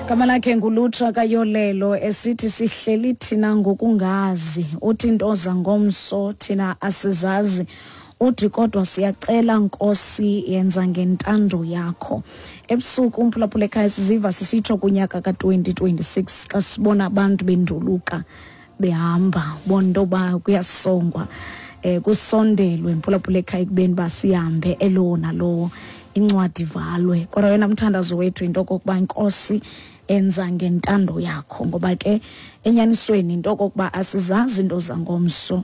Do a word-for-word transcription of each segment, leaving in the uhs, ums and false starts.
Gama lakhe nguLutra kaYolelo, esithi sihleli thina ngokungazi. Uthi into zangomso thina asizazi. Uthi kodwa siyacela, Nkosi, yenza ngentando yakho. Ebusuku, umphulaphula ekhaya, siziva sisitsho kunyaka ka-twenty twenty-six xa sibona abantu benduluka behamba, bona into yoba kuyasongwa, eh kusondelwe, mphulaphula ekhaya, ekubeni uba sihambe elowo nalowo, incwadi ivalwe. Kodwa yona mthandazo wethu into okokuba, Nkosi, enza ngentando yakho, ngoba ke enyanisweni into okokuba asizazi into zangomso.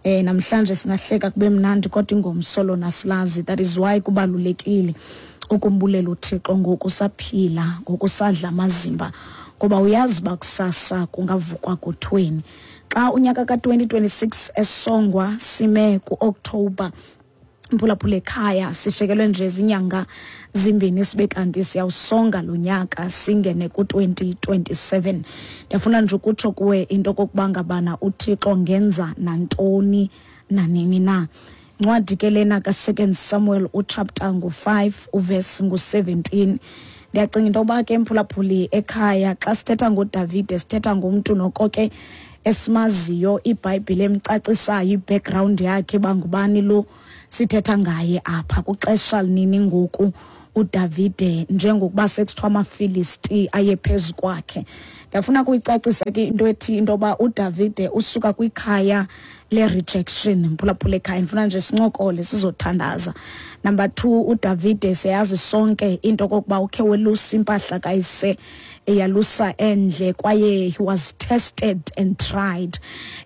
eh namhlanje singahleka kube mnandi, kodwa ingomso lona silazi. That is why kubalulekile ukumbulela uThixo ngoku saphila, ngoku sadla amazimba, ngoba uyazi uba kusasa kungavukwa kuthweni. Xa unyaka ka-twenty twenty-six esongwa, sime ku-October, mphulaphula ekhaya, sishekelwe nje zinyanga zimbini sibe kanti siyawusonga lo nyaka, singene ku-twenty twenty-seven. Ndiyafuna nje ukutsho kuwe into okokuba ngabana uThixo ngenza nantoni nanini na. Incwadi ke lena ka-Second Samuel, uchapter ngu-five, uvesi ngu-seventeen. Ndiyacinga into yoba ke, mphulaphuli ekhaya, xa sithetha ngoDavide sithetha ngomntu noko ke esimaziyo, iBhayibhile emcacisayo i-background yakhe, bangubani lo sithetha ngaye apha, kuxesha linini ngoku uDavide, njengokuba sekuthiwa amaFilisti aye phezu kwakhe. Ndiyafuna kuyicacisa ke into ethi into yoba uDavide usuka kwikhaya le-rejection. Mphulaphula ekhaya, ndifuna nje sincokole, sizothandaza. Number two, uDavide siyazi sonke into okokuba ukhe welusa impahla kayise, eyalusa endle, kwaye he was tested and tried,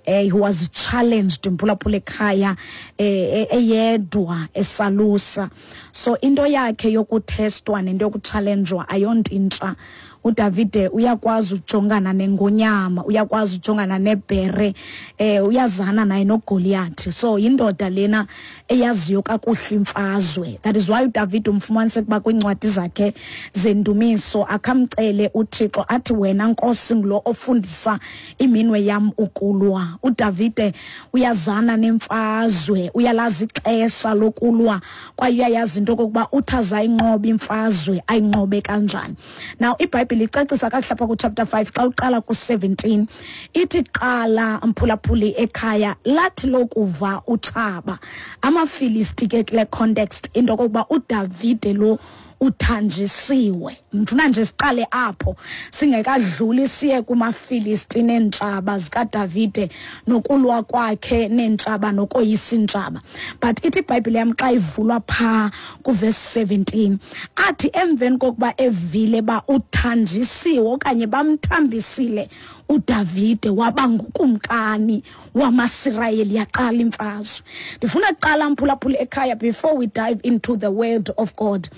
eh, he was challenged, mphulaphula ekhaya, eh, eyedwa esalusa. So into yakhe yokuthestwa nento yokuchallengewa ayonto intsha. UDavide uyakwazi ukujongana nengonyama, uyakwazi ukujongana nebhere, eh uyazana naye noGoliath. So indoda lena eyaziyo kakuhle imfazwe. That is why uDavid umfumanise kuba kwincwadi zakhe zendumiso akhamcele uThixo athi, "Wena Nkosi ngulo ofundisa iminwe yam ukulwa." UDavide uyazana nemfazwe, uyalazi ixesha lokulwa, kwaye uyayazi into okokuba uthi azayinqoba imfazwe ayinqobe kanjani. Now iBhayibhile icacisa kakuhle apha kuchapter five xa uqala ku-seventeen. Ithi qala, mphulaphuli ekhaya, lathi lokuva utshaba, amaFilisti ke kule context, into okokuba uDavide lo uthanjisiwe. Ndifuna nje siqale apho singekadluli siye kumaFilisti neentshaba zikaDavide nokulwa kwakhe neentshaba nokoyisa iintshaba. But ithi iBhayibhile yam xa ivulwa phaa kuvesi seventeen, athi emveni kokuba evile ba uthanjisiwe okanye bamthambisile uDavide waba ngukumkani wamaSirayeli, yaqala imfazwe. Ndifuna kuqala, mphulaphula ekhaya, before we dive into the word of God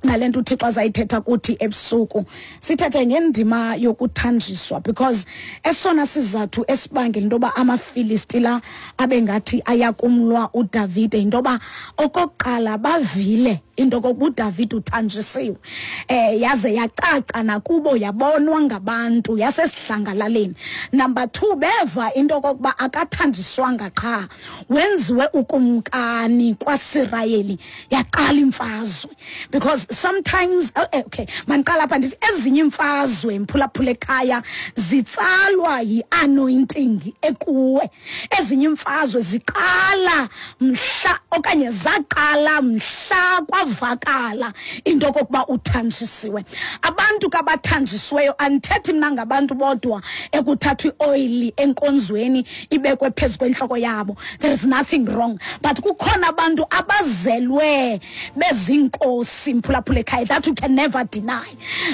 nale nto uThixo azayithetha kuthi ebusuku, sithethe ngendima yokuthanjiswa, because esona sizathu esibangela into yoba amaFilisti la abe ngathi ayakumlwa uDavide yinto yoba okokuqala bavile into yokokuba uDavide uthanjisiwe, eh yaze yacaca nakubo, yabonwa ngabantu yasesidlangalaleni. Number two, beva into yokokuba akathanjiswanga qha, wenziwe ukumkani kwaSirayeli. Yaqala imfazwe, because sometimes, oh, eh, okay, mandiqala apha ndithi ezinye imfazwe, mphulaphula ekhaya, zitsalwa yi-anointing ekuwe. Ezinye imfazwe ziqala mhla okanye zaqala mhla kwavakala into okokuba uthanjisiwe. Abantu kabathanjisiweyo, andithethi mna ngabantu bodwa ekuthathwa ioyili enkonzweni ibekwe phezu kwentloko yabo. There is nothing wrong, but kukhona abantu abazelwe bezinkosi, mphulaphula ekhaya, that you can never deny.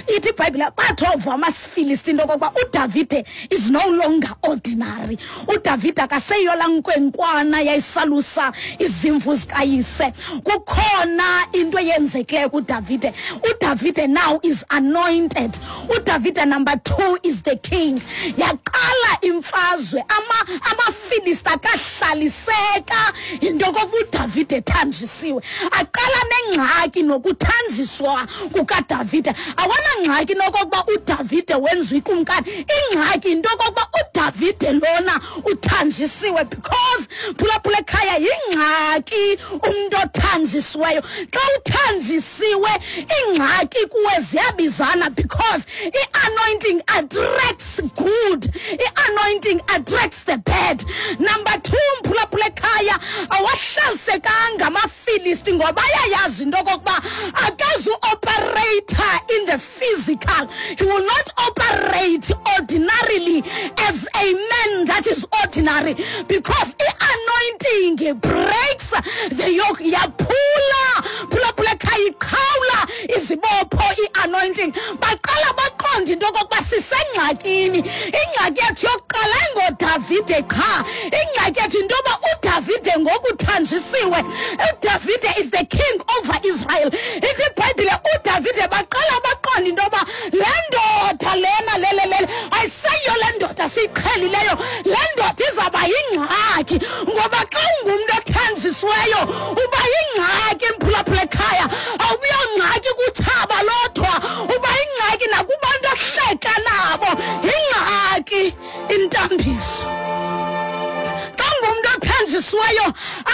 Ithi iBhayibhile bathi ova amaFilisti into okokuba uDavide is no longer ordinary, uDavide akaseyola nkwenkwana yayisalusa izimvu zikayise, kukhona into eyenzekileyo kuDavide. UDavide now is anointed. UDavide, number two, is the king. Yaqala imfazwe. Ama amaFilisti akahlaliseka into okokuba uDavide ethanjisiwe. Aqala nengxaki nokuthanjiswa kukaDavide. Awanangxaki nokokuba uDavide wenziwa ikumkani. Ingxaki into okokuba uDavide lona uthanjisiwe. othanjisiwe, because phulaphula ekhaya, yingxaki umntu othanjisiweyo. Xa uthanjisiwe, ingxaki kuwe ziyabizana, because i-anointing attracts good, i-anointing attracts the bad. Number two, mphulaphula ekhaya, awahlalisekanga amaFilisti ngoba ayayazi into okokuba akazu-operate in the physical. He will not operate ordinarily as a man that is ordinary, because i-anointing breaks the yoke. Yaphula, phulaphula ekhaya, iqhawula izibopho i-anointing. Baqala baqonda into okokuba sisengxakini. Ingxaki yethu yokuqala ayingoDavide qha, ingxaki yethu into yoba uDavide ngoku uthanjisiwe. UDavide is the king over Israel. Ithi iBhayibhile uDavide, baqala baqonda into yoba le ndoda lena lelelele ayiseyiyo le ndoda siyiqhelileyo, le ndoda izawuba yingxaki. Ngoba xa ungumntu othanjisiweyo uba yingxaki, mphulaphula ekhaya. Awubuyongxaki kutshaba lodwa, uba yingxaki nakubantu ohleka nabo. Yingxaki intambiso. Xa ungumntu othanjisiweyo,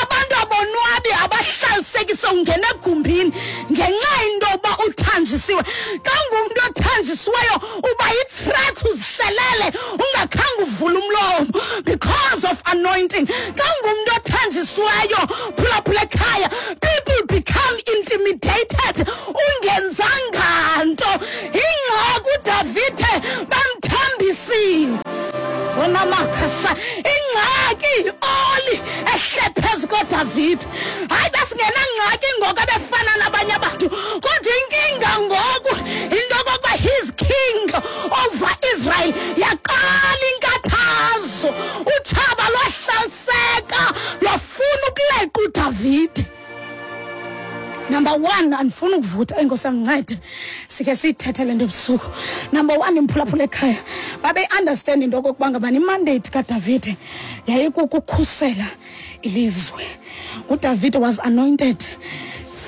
abantu abonwabi, abahlalisekise ungena egumbini ngenxa into yokuba uthanjisiwe. Xa ungumntu othanjisiweyo, uba yi-threat uzihlelele ungakhange uvule umlomo, because of anointing. Xa ungumntu othanjisiweyo, phulaphula ekhaya, people become intimidated ungenzanga nto. Ingxaki uDavide bamthambisile onamakhasa. Ingxaki oli ehle phezu koDavide. Hayi, besingenangxaki ngoku ebefana nabanye abantu, kodwa inkinga ngoku into yokokuba he's king over Israel. Yaqala inkathazo, utshaba lwahlaliseka lwafuna ukuleqa uDavide. Number one, andifuna ukuvutha, enkosi amncede, sike siyithethe le nto ebusuku. Number one, imphulaphula ekhaya, babe-understand into okokuba ngabani i-mandate kaDavide yayikukukhusela ilizwe. UDavide was anointed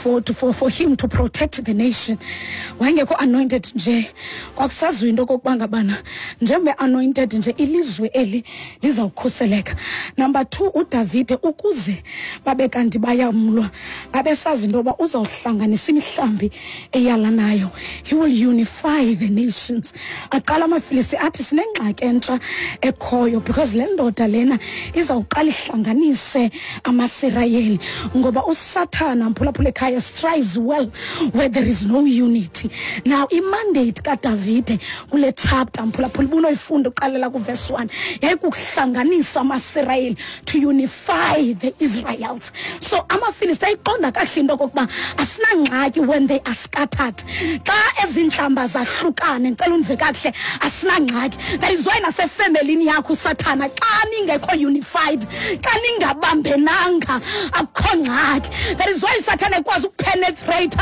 for, to, for, for him to protect the nation. Wayengekho anointed nje, kwakusaziwa into okokuba ngabana njengoba anointed nje, ilizwe eli lizawukhuseleka. Number two, uDavide ukuze babe kanti bayamlwa, babesazi into yoba uzawuhlanganisa imihlambi eyalanayo. He will unify the nations. Aqala amaFilisti athi sinengxaki entsha ekhoyo, because le ndoda lena izawuqala ihlanganise amaSirayeli, ngoba uSathana, mphulaphula ekhaya, strives well where there is no unity. Now i-mandate kaDavide kule chapter, mphulaphula, ubunoyifunda uqalela ku-verse one, yayikukuhlanganisa amaSirayeli, to unify the Israelites. So amaFilisti ayiqonda kakuhle into okokuba asinangxaki when they are scattered. Xa ezintlamba zahlukane, ndicela undive kakuhle, asinangxaki. That is why nasefemelini yakho uSathana, xa ningekho unified, xa ningabambenanga, akukho ngxaki. That is why uSathana ekwazi uku-penetrate,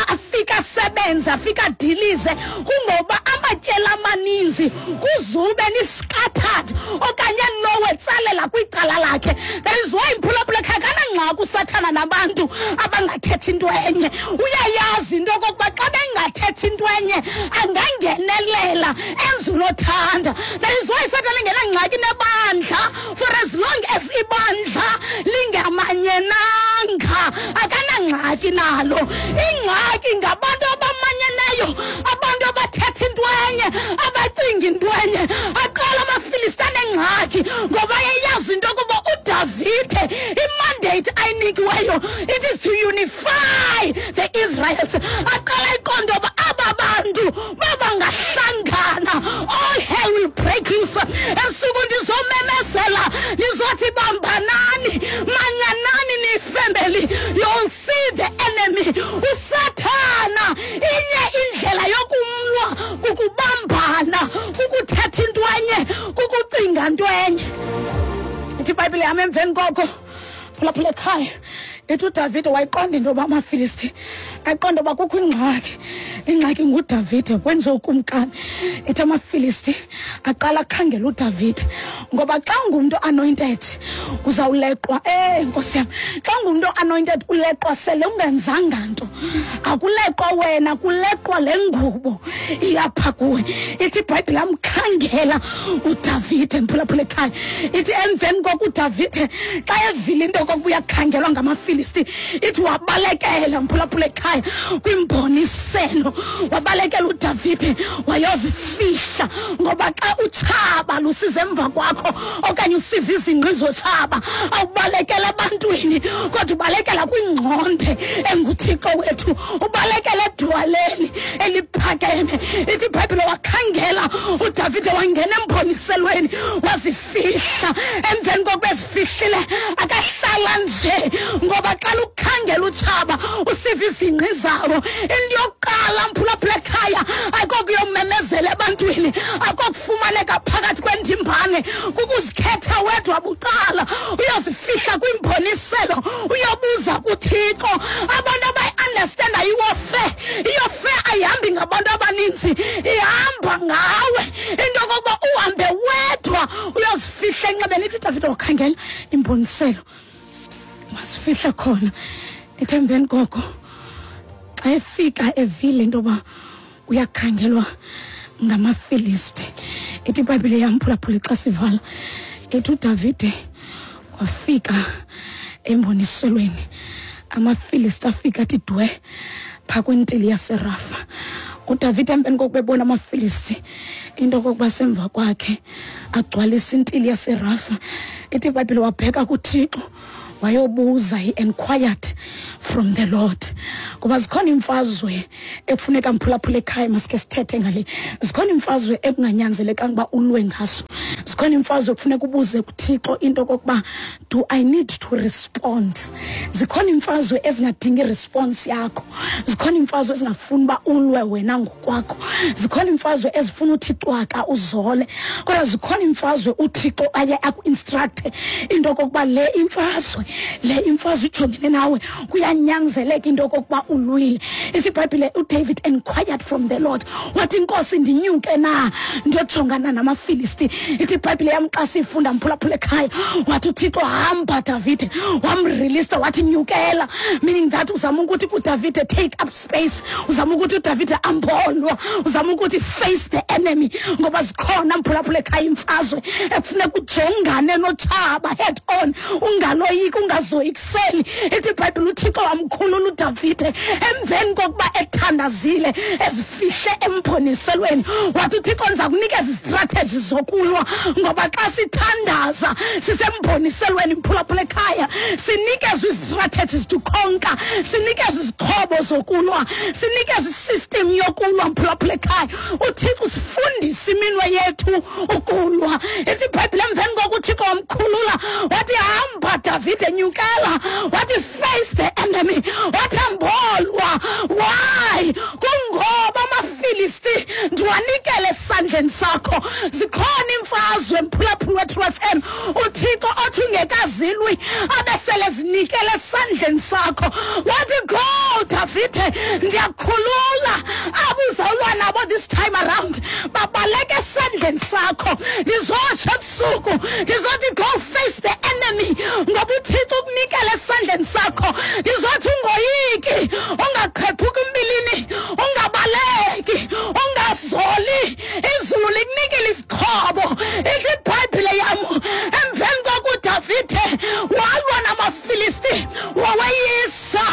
afike asebenze, afike adilize, kungoba amatyela amaninzi kuzube ni-scattered okanye lowo etsalela kwicala lakhe. That is why, mphulaphula ekhaya, kanangxaki uSathana nabantu abangathethi into enye. Uyayazi into okokuba xa bengathethi into enye angangenelela enze unothanda. That is why uSathana engenangxaki nebandla, for as long as ibandla lingamanyenanga akanangxaki nalo. Ingxaki ngabantu abamanyeneyo, abantu abathetha into enye, abacinga into enye. Aqala amaFilisti anengxaki ngoba eyazi into yokuba uDavide i-mandate ayinikiweyo, it is to unify the Israelites. Aqala iqonda uba aba bantu babangahlangana, all hell will break loose. Ebusuku ndizomemezela, ndizothi bambanani, manyanani ni-family, you'll see the enemy. USathana inye indlela yokumlwa kukubambana, kukuthetha into enye, kukucinga into enye. Ithi iBhayibhile yam emveni koko, phulaphula ekhaya, ithi uDavide wayiqonda into yoba amaFilisti ayiqonda uba kukho ingxaki Ingxaki nguDavide wenze ukumkani. Ethi amaFilisti aqala akhangela uDavide, ngoba xa ungumntu anointed uzawuleqwa. Eh Nkosi yam, xa ungumntu anointed uleqwa sele ungenzanga nto. Akuleqwa wena, kuleqwa le ngubo ilapha kuwe. Ithi iBhayibhile amkhangela uDavide, mphulaphula ekhaya. Ithi emveni koko uDavide xa evile into okokuba uyakhangelwa ngamaFilisti, ithi wabalekela, mphulaphula ekhaya, kwimboniselo. Wabalekela uDavide wayozifihla, ngoba xa utshaba lusiza emva kwakho okanye usiva izingqi zotshaba, awubalekela ebantwini, kodwa ubalekela kwingqonde enguThixo wethu, ubalekela edwaleni eliphakeme. Ithi iBhayibhile wakhangela uDavide, wangena emboniselweni wazifihla. Emveni kokuba ezifihlile akahlala nje, ngoba xa lukhangela utshaba usiva izingqi zawo. Into yokuqala, mphulaphula ekhaya, ayikokuyomemezela ebantwini, akokufumaneka phakathi kwendimbane, kukuzikhetha wedwa bucala, uyozifihla kwimboniselo, uyobuza kuThixo. Abantu abayi-understanda iwarfare, iwarfare ayihambi ngabantu abaninzi, ihamba ngawe. Into yokokuba uhambe wedwa uyozifihla enxebeni. Ithi Davide wakhangela imboniselo, wasifihla khona. Ithi emveni koko xa efika evile into yoba uyakhangelwa ngamaFilisti, ithi iBhayibhile yamphulaphula xa sivala, ithi uDavide wafika emboniselweni, amaFilisti afika athi dwe phaa kwintili yaseRafa. uDavide emveni kokuba ebona amaFilisti into okokuba semva kwakhe agcwalisa intili yaseRafa, ithi iBhayibhile wabheka kuThixo wayobuza, he inquired from the Lord. Ngoba zikhona imfazwe ekufuneka, mphulaphula ekhaya, masike sithethe ngale, zikhona imfazwe ekunganyanzelekanga uba ulwe ngaso. Zikhona imfazwe ekufuneka ubuze kuThixo into okokuba do I need to respond. Zikhona imfazwe ezingadingi response yakho, zikhona imfazwe ezingafuni uba ulwe wena ngokwakho, zikhona imfazwe ezifuna uthi cwaka uzole, kodwa zikhona imfazwe uThixo aye aku-instructe into okokuba le imfazwe le imfazwe ijongene nawe, kuyanyanzeleka into okokuba ulwile. Ithi iBhayibhile uDavid inquired from the Lord, wathi Nkosi ndinyuke na ndiyojongana namaFilisti. Ithi iBhayibhile yam xa siyifunda, mphulaphula ekhaya, wathi uThixo hamba Davide, wamreleasa wathi nyukela, meaning that uzama ukuthi kuDavide take up space, uzama ukuthi uDavide ambolwa, uzama ukuthi face the enemy, ngoba zikhona, mphulaphula ekhaya, imfazwe ekufuneka ujongane notshaba head on, ungaloyiki, ungazoyikiseli. Ithi iBhayibhile uThixo wamkhulula uDavide emveni kokuba ethandazile ezifihle emboniselweni. Wathi uThixo ndiza kunikeza izistrategy zokulwa, ngoba xa sithandaza sisemboniselweni, mphulaphula ekhaya, sinikezwe izistrategies to conquer, sinikezwe izixhobo zokulwa, sinikezwe isystem yokulwa, mphulaphula ekhaya. uThixo usifundisa iminwe yethu ukulwa. Ithi iBhayibhile emveni kokuba uThixo wamkhulula wathi hamba Davide nyukela, wathi face the enemy, wathi ambolwa. Why? Kungoba amaFilisti ndiwanikele esandleni sakho. Zikhona imfazwe, mphulaphula weTrue F M, uThixo othi ungekazilwi abesele zinikele esandleni sakho. Wathi go Davide, ndiyakhulula abuzawulwa nabo this time around, babaleke esandleni sakho. Ndizotsho ebusuku ndizothi go face the enemy, ngoba uThixo ukunikele esandleni sakho. Ndizothi ungoyiki, ungaqhephuki umbilini, ungabaleki, ungazoli, izulu likunikele izixhobo. Ithi iBhayibhile yam emveni kokuba uDavide walwa namaFilisti wawayisa,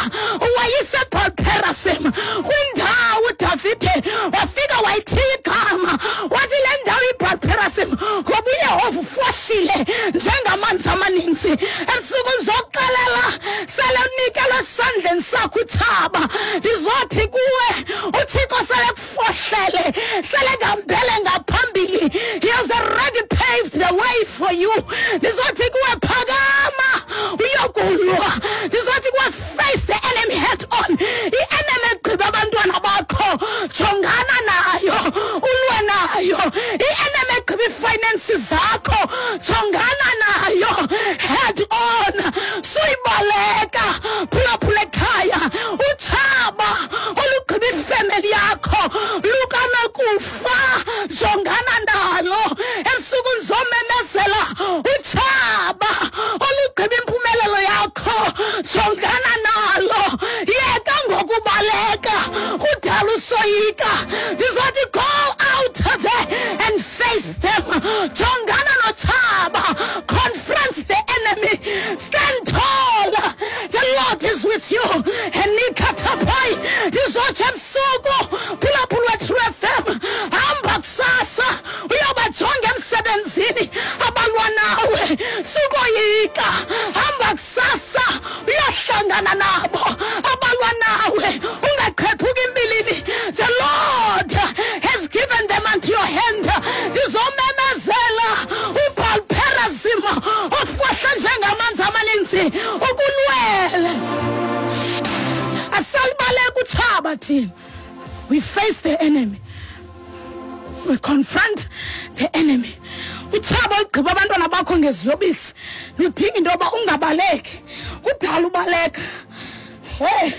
wayisa eBaal-Perasim, kwindawo uDavide wafika wayithiya igama, wathi le ndawo iBaal-Perasim ngoba uYehova ufohlile njengamanzi amaninzi. Ebusuku ndizokuxelela sele unikelwe esandleni sakho utshaba, ndizothi kuwe uThixo sele kufohlele, sele ngambele ngaphambili, he has already paved the way for you. Ndizothi kuwe phakama uyokulwa, ndizothi kuwe face the enemy head on. I-enemy egqiba abantwana bakho jongana nayo, ulwe nayo. I-enemy egqiba ii-finances zakho jongana nayo head on, suyibaleka. Phulaphula ekhaya, utshaba olugqiba ifemeli yakho Lukanokufa, jongana nalo. Ebusuku ndizomemezela utshaba olugqiba impumelelo yakho, jongana nalo. Yeka ngokubaleka, kudala usoyika. Ndizothi go out there and face them. Jongana notshaba, confront the enemy, stand tall, the Lord is with you. Enikathaphai, ndizothi ebusuku phulaphula True F M, hamba kusasa uyobajonga emsebenzini abalwa nawe, sukoyika. Hamba kusasa uyohlangana nabo abalwa nawe, ungaqhephuki imbilini. The Lord has given them unto your hand. Ndizomemezela uBaal-perazim ofohla njengamanzi amaninzi ukulwele. Asalibaleka utshaba thina. We face the enemy. We confront the enemy. Utshaba ugqiba abantwana bakho ngeziyobisi. Ludinga into yoba ungabaleki. Kudala ubaleka. Hey,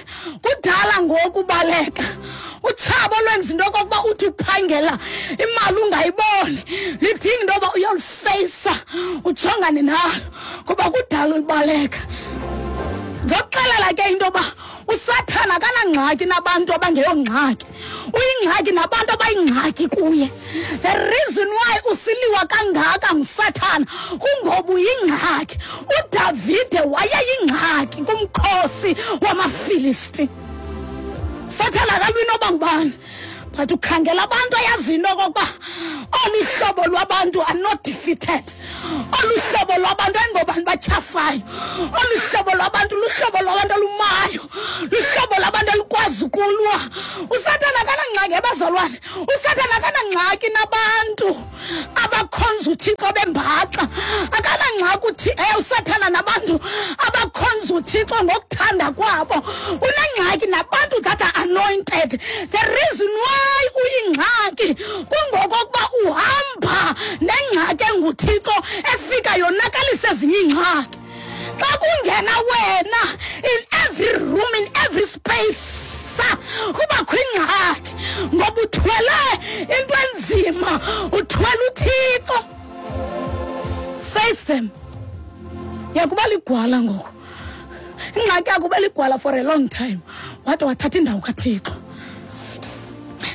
kudala ngoku ubaleka. Utshaba olwenza into yokokuba uthi uphangela imali ungayiboni. Lidinga into yoba uyolifeyisa, ujongane nalo, kuba kudala ulibaleka. Ndokuxelela ke into yoba uSathana akanangxaki nabantu abangeyongxaki. Uyingxaki nabantu abayingxaki kuye. The reason why usiliwa kangaka nguSathana kungoba uyingxaki. uDavide wayeyingxaki kumkhosi wamaFilisti. Sathana akalwi noba ngubani, but ukhangela abantu ayazi into okokuba olu hlobo lwabantu are not defeated. Olu hlobo lwabantu ayingobantu batyhafayo. Olu hlobo lwabantu luhlobo lwabantu olumayo, luhlobo lwabantu olukwazi ukulwa. uSathana akanangxaki ebazalwane. uSathana akanangxaki nabantu abakhonza uThixo bembaxa. Akanangxaki uthi eh uSathana nabantu abakhonza uThixo ngokuthanda kwabo. Unengxaki nabantu that are anointed. The reason why uyingxaki kungokokuba uhamba nengxaki enguThixo efika yonakalisa ezinye iingxaki. Xa kungena wena in every room, in every space, kubakho ingxaki ngoba uthwele into enzima, uthwele uThixo. Face them. Yakuba ligwala ngoku. Ingxaki yakho ube ligwala for a long time, wade wathatha indawo kaThixo.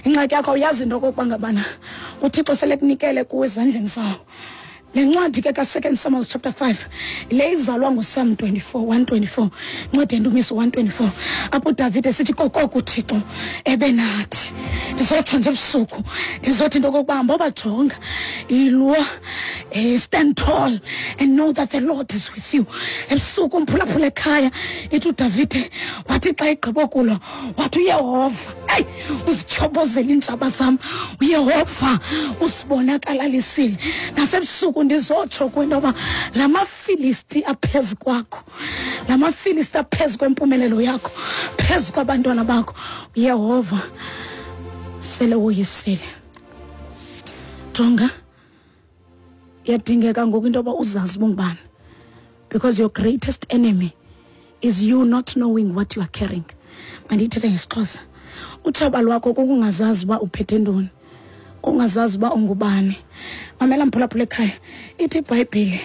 Ingxaki yakho uyazi into okokuba ngabana uThixo sele kunikele kuwe ezandleni zawo. Le ncwadi ke ka-Second Samuel chapter five, le izalwa nguPsalm twenty-four, one twenty-four, incwadi yendumiso one twenty-four, apho uDavide sithi kokoko uThixo ebenathi. Ndizotsho nje ebusuku, ndizothi into okokuba hamba bajonga, ilwa, eh, stand tall and know that the Lord is with you. Ebusuku umphulaphula ekhaya, ithi uDavide wathi xa egqiba kulwa, wathi uYehova, eyi, uzityhobozela iintshaba zam, uYehova usibonakalalisile. Nasebusuku ndizotsho kwinto yoba la maFilisti aphezu kwakho, la maFilisti aphezu kwempumelelo yakho, phezu kwabantwana bakho, uYehova sele woyisile. Jonga, iyadingeka ngoku into yoba uzazi uba ungubani, because your greatest enemy is you not knowing what you are carrying. Mandiyithethe ngesiXhosa. Utshaba lwakho kukungazazi uba uphethe ntoni, ungazazi uba ungubani. Mamela mphulaphula ekhaya, ithi iBhayibhile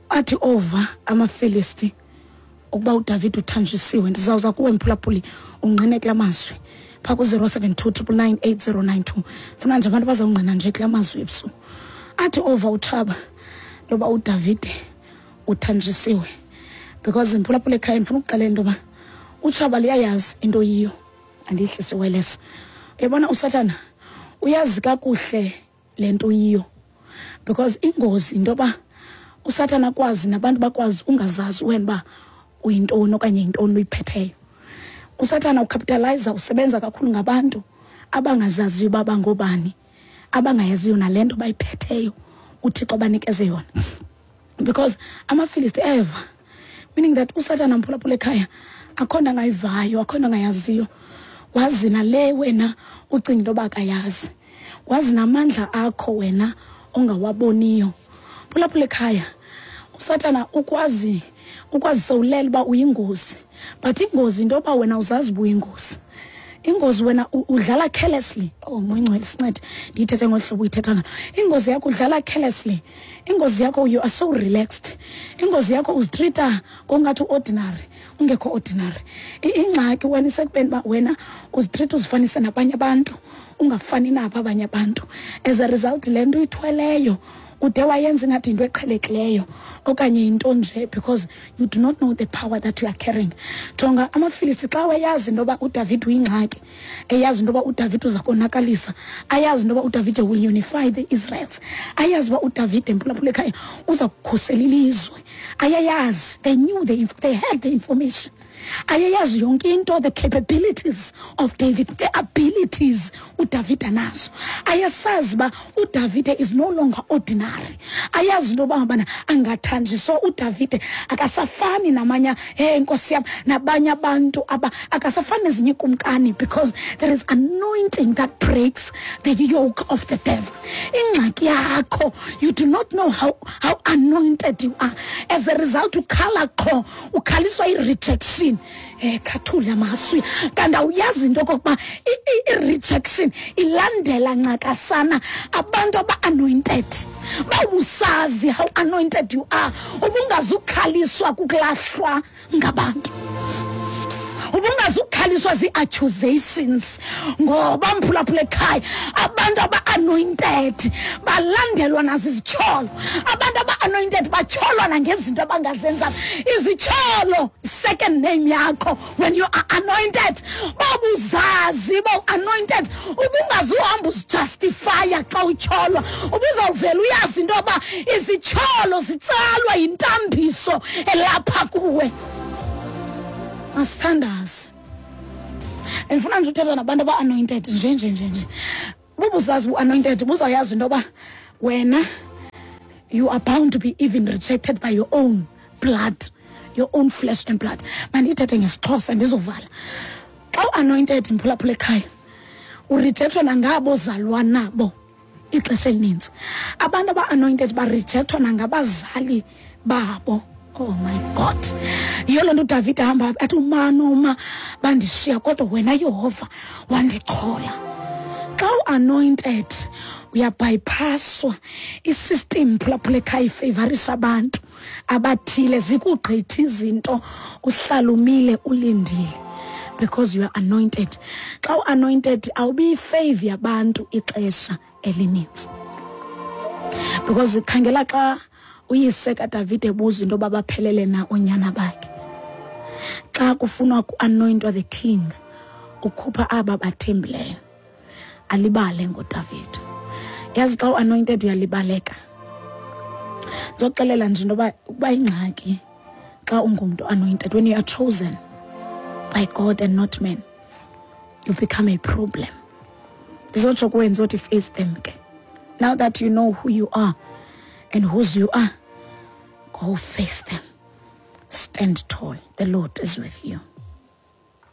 athi ova amaFilisti ukuba uDavide uthanjisiwe. Ndizawuza kuwe mphulaphuli ungqine kula mazwi phaa ku-zero seven two triple nine eight zero nine two. Funa nje abantu bazawungqina nje kula mazwi ebusuku. Athi ova utshaba loba uDavide uthanjisiwe, because mphulaphula ekhaya ndifuna ukuxelela into yoba utshaba liyayazi into yiyo. Andiyihlisi wireless. Uyabona uSathana uyazi kakuhle le nto yiyo, because ingozi into yoba uSathana akwazi nabantu bakwazi ungazazi wena uba uyintoni okanye yintoni uyiphetheyo. uSathana ucapitalize, usebenza kakhulu ngabantu abangazaziyo uba bangobani, abangayaziyo nale nto bayiphetheyo uThixo banikeze yona. Because amaFilisti eva, meaning that uSathana mphulaphula ekhaya akho nto angayivayo, akho nto angayaziyo. Wazi nale wena ucinga into yoba akayazi, wazi namandla akho wena ongawaboniyo. Phulaphula ekhaya, uSathana ukwazi ukwazi sewulela uba uyingozi, but ingozi into yoba wena uzazi uba uyingozi. Ingozi wena udlala carelessly. Oh, moyingcwele sincede ndiyithethe ngohlobo uyithetha ngalo. Ingozi yakho udlala carelessly. Ingozi yakho you are so relaxed. Ingozi yakho uzitreata ngokungathi ordinary, ungekho ordinary. Ingxaki wena isekubeni uba wena uzitreata uzifanise nabanye abantu, ungafani nabo abanye abantu. As a result, le nto uyithweleyo ude wayenza ingathi yinto eqhelekileyo okanye yinto nje, because you do not know the power that you are carrying. Jonga amaFilisti xa wayazi into yoba uDavid uyingxaki, eyazi into yoba uDavid uza konakalisa, ayazi into yoba uDavid will unify the Israels, ayazi uba uDavid emphulaphula ekhaya uza kukhusela ilizwe, ayayazi. They knew, they, they had the information. Ayayazi yonke into, the capabilities of David, the abilities uDavid anazo. Ayasazi uba uDavid is no longer ordinary. Ayazi into yoba ngabana angathanjiswa uDavid akasafani namanye, hey Nkosi yam, nabanye abantu aba akasafani nezinye ikumkani, because there is anointing that breaks the yoke of the devil. Ingxaki yakho, you do not know how, how anointed you are. As a result, ukhala qho, ukhaliswa i-rejection. Eh khathula maswi kanti awuyazi into okokuba i-rejection ilandela ncakasana abantu aba-anointed. Bawusazi how anointed you are, ubungazukhaliswa kukulahlwa ngabantu, ubungazukhaliswa zii-accusations, ngoba mphulaphula ekhaya abantu aba-anointed balandelwa nazizityholo. Abantu aba-anointed batyholwa nangezinto abangazenzayo. Izityholo, second name yakho when you are anointed. Babuzazi bawu-anointed, ubungazuhamba uzijustifya xa utyholwa, ubuzawuvela uyazi into yoba izityholo zitsalwa yintambiso elapha kuwe. Masithandaze. Ndifuna nje uthetha nabantu aba-anointed nje nje nje nje. Bubuzazi bu-anointed, buzawuyazi into yoba wena you are bound to be even rejected by your own blood, your own flesh and blood. Mandiyithethe ngesiXhosa ndizovala. Xa u-anointed mphulaphula ekhaya, urejectwa nangabo ozalwa nabo ixesha elinintsi. Abantu aba-anointed barejectwa nangabazali babo. Oh my God. Yiyo loo nto uDavid ahamba athi umanoma bandishiya, kodwa wena Yehova wandichola. Xa u-anointed uyabypasswa isystem phulaphula ekhaya ifavorisha abantu abathile, zikugqitha izinto, uhlala umile ulindile because you are anointed. Xa u-anointed awubi favor yabantu ixesha elinintsi, because khangela xa uyise kaDavid ebuza into yoba baphelele na oonyana bakhe. Xa kufunwa ku-anointwa the king, ukhupha aba bathembileyo, alibale ngoDavid. Yazi xa u-anointed uyalibaleka. Ndizoxelela nje into yoba ukuba ingxaki xa ungumntu anointed, when you are chosen by God and not men, you become a problem. Ndizotsho kuwe ndizothi face them ke. Now that you know who you are and whose you are, go face them. Stand tall. The Lord is with you.